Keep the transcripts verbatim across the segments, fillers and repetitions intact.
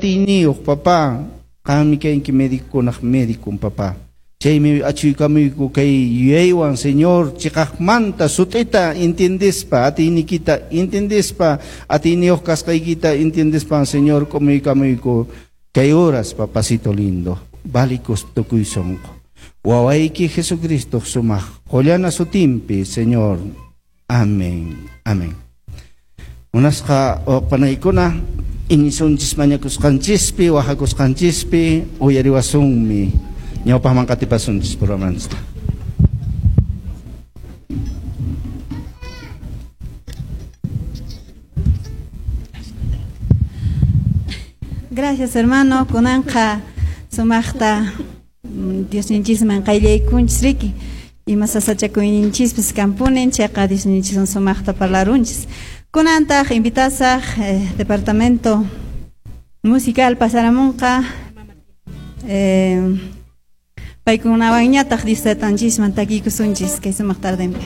atiyniyuq, papá. Qanmi kanki médicokunaq médicon, papá. Chaymi achuykamuyku kay yuyaywan, Señor, chiqaqmanta sut'ita entiendespa, atiynikita entiendespa, atiyniyuq kasqaykita entiendespa, Señor, k'umuykamuyku kay horas, papacito lindo, valicos tukuy sonqo. Wawayki Jesucristo sumaq qollana sutinpi, Señor. Amén. Amén. Munasqa panaykuna, iñisunchis mañakusqanchispi, wajakusqanchispi, uyariwasunmi. Ñawpaqman qatipasunchis programanchista. Gracias, hermano. Kunanqa sumaqta Diosninchisman qayllaykunchis riki. Ima sasachakuyninchispis kampunin chayqa Diosninchiswan sumaqta parlarunchis. Kunantaq invitasaq eh, departamento musical pasaramunqa eh, paykunawanñataq Dios taytanchisman takiykusunchis kay sumaq tardenpi.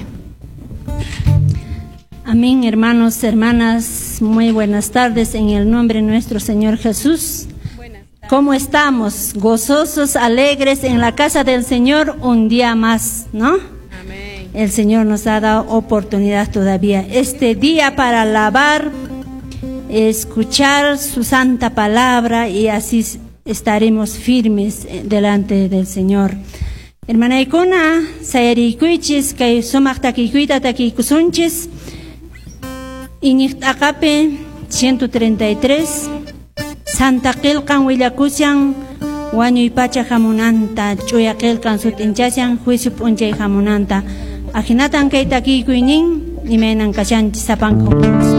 Amén, hermanos, hermanas, muy buenas tardes en el nombre de nuestro Señor Jesús. ¿Cómo estamos? Gozosos, alegres en la casa del Señor un día más, ¿no? Amén. El Señor nos ha dado oportunidad todavía este día para alabar, escuchar su santa palabra y así estaremos firmes delante del Señor. Hermanaykuna, sayarikuychis, kay sumaq takikuyta takiykusunchis. Iñiq t'aqapi ciento treinta y tres, Santa qillqan willakushan wañuy pacha hamunanta, ch'uya qillqan sut'inchashan juicio p'unchay hamunanta. Ahinatan kay takikuynin imaynan kashanchis sapanku.